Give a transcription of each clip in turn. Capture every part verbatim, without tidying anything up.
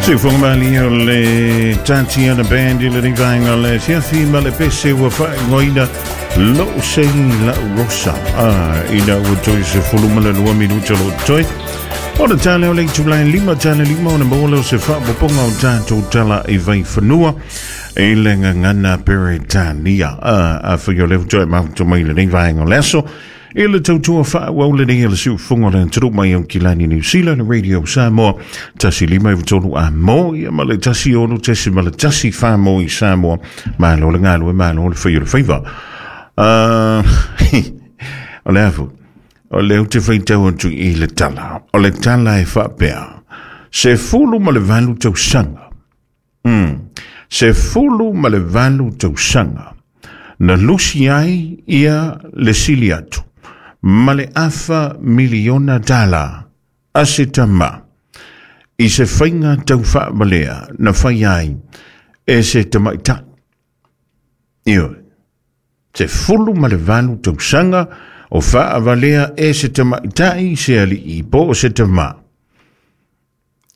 Siufonga o le Tatiana Band i le rivaenga le fiafi ma le pese ua whaingoina lo sei la rosa. Ah, ina ua toi se fulu ma le lua minuta lo toi. O le tale o le itulai lima tale lima o na maua o se whaapoponga o tātou tala i vai whanua e le ngangana Peretania. Ah, a whio leo toi mahuta mai le rivaenga o leaso. I le tautua whaawau le nei le siufunga le turu mai au kilani New Zealand Radio Samoa tasi lima i tolu a mo ia ma le tasi ono tesi ma le tasi wha mo i Samoa malo le ngalo e malo le whio le whiwa. O le afu, o le ute whaitau atu i le tala, o le tala e whapea, se fulu ma le valu tausanga, mm. se fulu ma le valu tausanga, na lusi ai ia le sili atu, ma le afa miliona dala a se tama i se whainga tau whaamalea na whai ai e se tamaitai. Io, se fulu ma le valu tausanga o whaavalea e se tamaitai se alii po o se tama.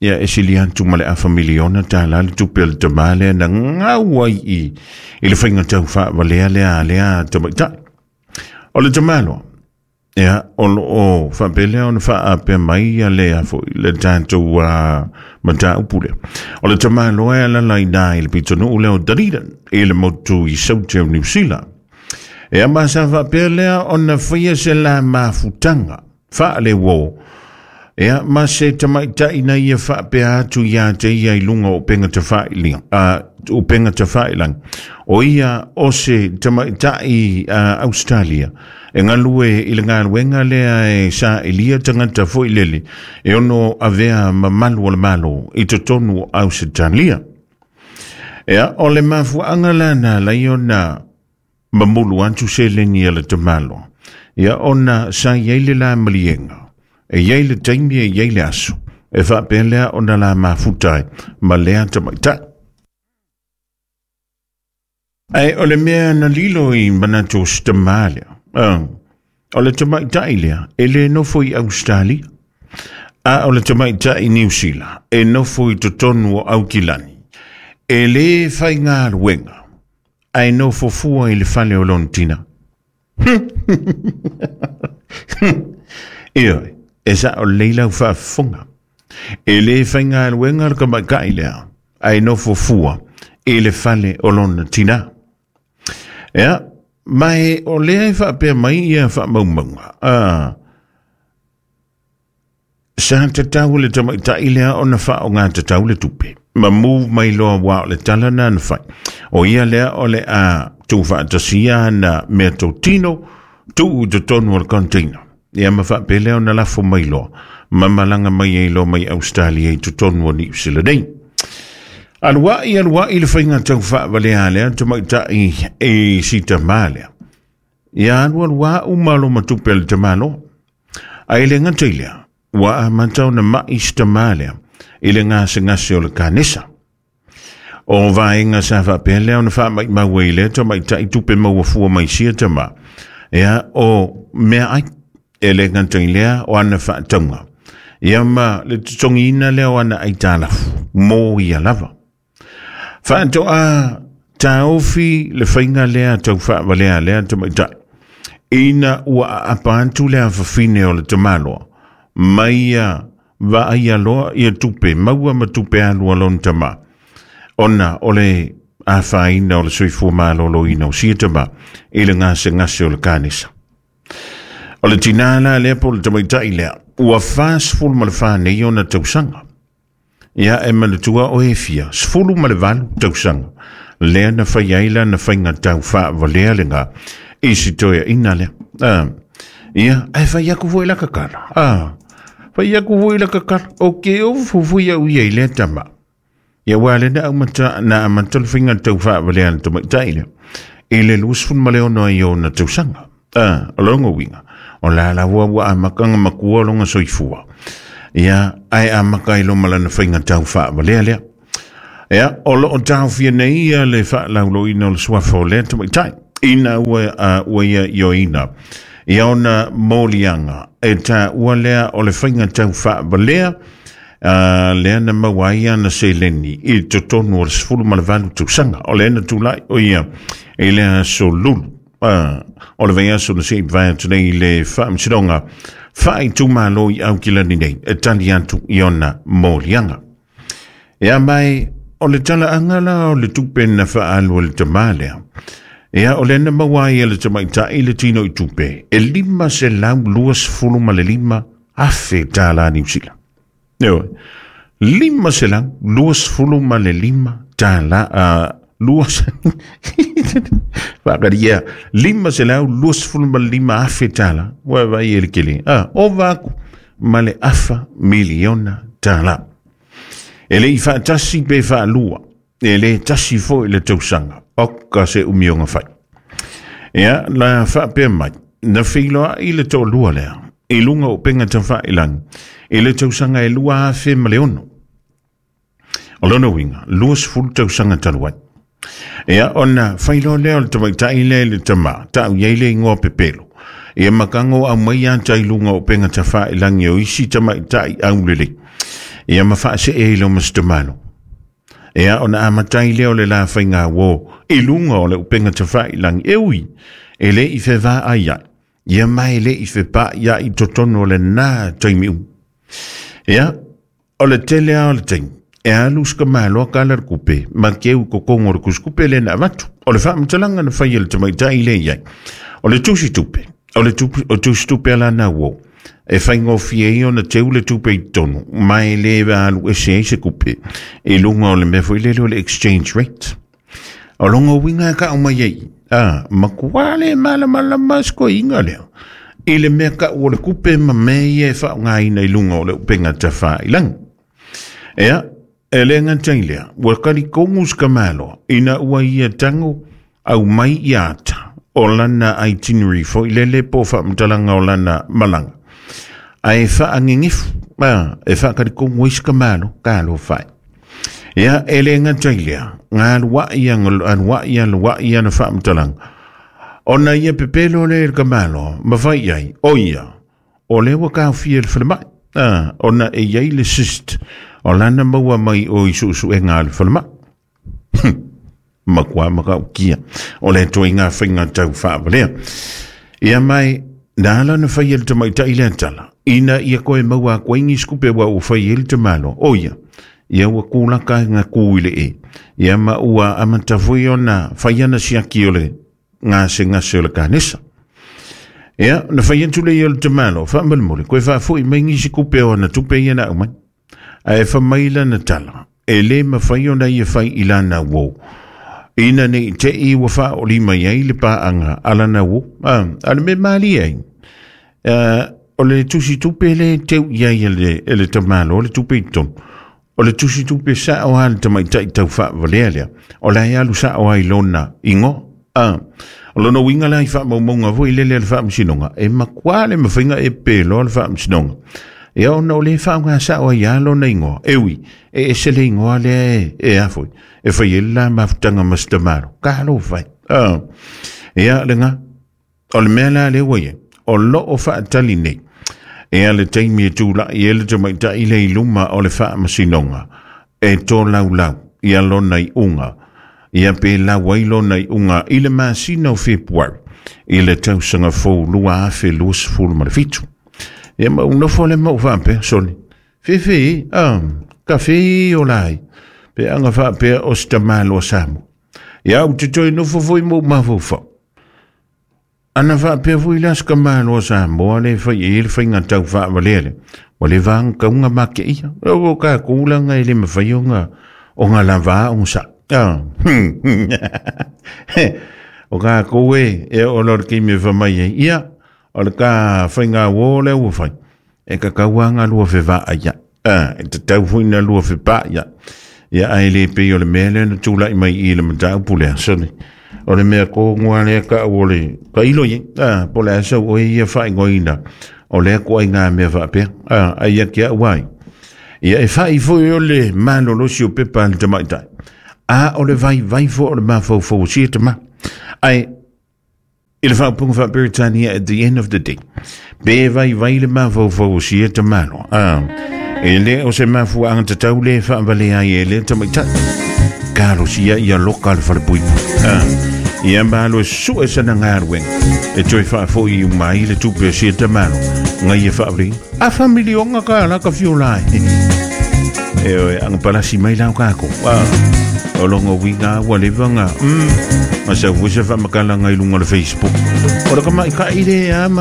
Ia e sili atu ma le afa miliona dala le tupe le tama lea na ngau ai i i le whainga tau whaavalea lea lea tamaitai. O le tamaloa, ia, o lo o whapelea o na whaapea mai ia lea foi le tātou uh, mata upule. O le tamaloa e alala i nā i le pitonu leo Dunedin i le motu i Saute o New Zealand. E ama sa whapea lea o na whaia se la mafutanga, whaale wō. Ia, ma se tamaitai na ia whaapea atu ia te ia i lunga o penga te whailinga, uh, o penga te whailang. O ia o se tamaitai uh, Australia. E ngalue i le ngaluenga lea e sa ilia tangata foi lele. E ono avea mamalu o le malo i totonu o Australia. Ia, o le mafuanga lana lai ona mamulu atu se lengi a le tamalo. Ia, ona sa iai le la malienga. E iai le taimi e iai le aso. E whaapea lea ona la mafutai ma lea tamaitai. Ai o le mea na lilo i manatu o stamā lea. Uh, o le tamaitai lea, e le nofo i Australia. A o le tamaitai i New Zealand, e nofo i totonu o Aukilani. E le whai luenga, ai nofo fua i le fale o Lontina. Io, e sa o leila u whaafunga. E le whai luenga le tamaitai lea, ai nofo fua i le fale o Lontina. Ea, mai o lea e whaapea mai ia whaamaumaunga. Ah, sa tatau le tamaitai lea o na wha o ngā tatau le tupe. Ma move mai loa wā o le tala na na whai. O ia lea o le a tū whaatasia na mea tō tino, tū u te tonu o le container. Ia ma whaapea lea o na lafo mai loa. Ma malanga mai ei loa mai Australia i totonu o New Zealand nei. Aluai, aluai le whainga tau whaavalea lea, tamaitai e sita mā lea. Ia alu alua umalo matupe le tamalo. Ai le ngata lea, ua amata ona mai sita mā lea, i le ngase ngase o le kanesa. O vaenga sa whaapea lea ona whaamai maua i lea, tamaitai tupe maua fua mai sia tama. Ia o mea ai, e le ngata lea o ana whaataunga. Ia ma le tutongiina lea o ana aitalafu, mō ia lava. Whaatoa tāofi le whainga lea tau whaavalea lea tamaitai. Ina ua apantu lea whawhine o le tamaloa. Mai ia vaai aloa ia tupe, maua ma tupe alua lon tama. Ona o le awhaina o le soifua malolo ina o sia tama i le ngase ngase o le kanesa. O le tinala lea po le tamaitai lea, ua whasful ma le whanei o na tausanga. Ia e manatua o e fia, sfulu ma le valu tausanga. Lea na whai aila na whainga tau whaavalea le ngā. I si toea ina lea. Ah, ia, ai whai aku fui la kakala. Ah, whai aku fui la kakala. O ke o fufui au ia i lea tama. Ia wale na amata, na amata le whainga tau whaavalea le tamaitai lea. I le lusfun ma leo noa i o na tausanga. Ah, o longo winga. O la la ua ua amakanga makua longa soifua. Ia, ai amaka i lo malana whainga tau whaavalea lea. Ia, o lo o tau fia nei ia le whaalaulo ina o le suafa o lea tamaitai. Ina ua, uh, ua ia i o ina. Ia ona molianga. E tā ua lea o le whainga tau whaavalea. Uh, lea na maua ai ana seleni i totonu o le sefulu ma le valu tausaga o lea na tulai o ia i le aso lulu uh, o le vaiaso na sei vae atu nei le faamasinoga faaitumalo i Aukilani nei e tali atu i ona moliaga. Ia mai o le talaaga la o le tupe na faaalu e le tamā lea. Ia o lea na maua ai e le tamaitai le tino i tupe e lima selau luasefulu ma le lima afe tālā Niu Sila. Ioe, lima selau luasefulu ma le lima tālā uh, luas faakaria lima selau luasefulu ma le lima afe tālā ua vai e le kele ah, ova aku ma le afa miliona tālā. E le i faatasi pe faalua, e le tasi foi le tausaga oka se umioga fai. Ia la faapea mai na feiloai le toalua lea i luga o upega tafailagi i le tausaga e lua afe ma le ono. O lona uiga luasefulu tausaga talu ai. Ia ona failoa lea o le tamaitai lea i le tamā taʻu iai le igoa pepelo. Ia makago aumai ata i luga o upega tafailagi o isi tamaitai aulelei. Ia ma faasee i loma setamalo. Ia ona amatai lea o le la faiga uō i luga o le upega tafailagi e ui e lē i fevaai ai. Ia ma e lē i fepaʻi ai i totonu o lenā taimi uma. Ia o le tele a o le taimi e alu sakamāloa kala le kupe ma keu kokogo o le kusikupe lea na avatu. O le faamatalaga na fai e le tamaitai lea i ai o le tusi tupe o le tupe o tusi tupe alana uō e faigofie ai ona teu le tupe i totonu ma e lē alu ese ai se kupe i luga o le mea foi lele o le exchange rate. O loga uiga e kaʻu mai ai a makuā le malamalama sikoiga lea i le mea kaʻu o le kupe ma mea ia e faaaogaina i luga o le upega tafailagi. Ia e le gatai lea ua kalikogu sakamāloa ina ua ia tago aumai ia ata o lana itinerary foi lele po o faamatalaga o lana malaga ae faagegefu a e faakalikogu ai sakamālo kalofai. Ia e le gatai lea galuaʻi aluaʻi aluaʻi ana faamatalaga ona ia pepelo lea i le kamāloa ma fai ai o ia o lea ua kaofia i le falemai a ona e iai le cyst o lana maua mai o i suʻesuʻega a le falemai. Makuā makaʻukia o le toaiga faiga tau faavalea. Ia mai na ala na fai e le tamaitai lea tala ina ia koe maua aku ai nisi kupe ua ua fai ai le tamāloa o ia ia ua kulaka ga ku i le e. Ia ma ua amata foi ona fai ana siaki o le gasegase o le kanesa. Ia na fai atu lea o le tamāloa faamolemole koe faafoʻi mai nisi kupe o ana tupe ia na aumai. Ae famai lana tala e lē mafai ona ia fai i lana uō ina nei teʻi ua faaʻoli mai ai le paaga a lana uō a, a le mea malie ai o le tusi tupe le teu iai e le, e le tamāloa le tupe i totonu o le tusi tupe saʻo a le tamaitai taufaavalea lea o la e alu saʻo ai lona igoa a o lona uiga la i faamaumauga foi lele a le faamasinoga e makuā le mafaiga e peloa le faamasinoga. Ia ona o le faaaoga saʻo ai a lona igoa e ui e ese le igoa lea e, e a foi e fai ai le la mafutaga ma setamalo kalofai a. Ia lega o le mea la lea ua iai o loo faatali nei ia le taimi e tulaʻi ai le tamaitai lea i luma o le faamasinoga e tolaulau ia lona iʻuga ia pe lau ai lona iʻuga i le masina o Fepuari i le tausaga fou lua afe luasefulu ma le fitu. Ia ma unofo le mau faapea sole fefe a kafe o lai pe anga faapea o setamāloa Samoa. Ia ou te toe nofo foi mo mafaufau ana faapea foi la sakamāloa Samoa le fai ai le faiga tau faavalea lea ua le vagakauga makeia o kakou laga e le mafai ona ona lavā oga saʻu a o kakou e e oo loa le taimi e famai ai ia o le ka faiga uō lea ua fai e kakau aga lua fevaai ai a e tatau foi na lua fepaʻi ai ia ae lē pei o le mea lea na tulaʻi mai i le mataupu lea sole o le mea kogoa lea kaʻu o le kailo iai a po o le a sau oe ia faaigoaina o lea koaiga mea faapea a ai ake aʻu ai ia e faʻi foi o le malolosi o pepa a le tamaitai a o le vaivai foi o le mafaufau o sia tamā ae i le faaupuga faaperitania at the end of the day pe vaivai le mafaufau o sia tamāloa a E le o se mafuaaga tatau le faavalea ai e lea tamaitai. Talosia ia loka le falepuipui. Ah. Ia malo e sue sana galuega e toe faafo'i uma ai le tupe a sia tamalo ngai e faavalei afa milioga ka la ka fiola ai e oe aga palasi mai lau kako. Ah. O longa uiga ua leva ga mm. Ma sau foi se faamakalaga i luga o le Facebook o le kamaʻikaʻi le a ma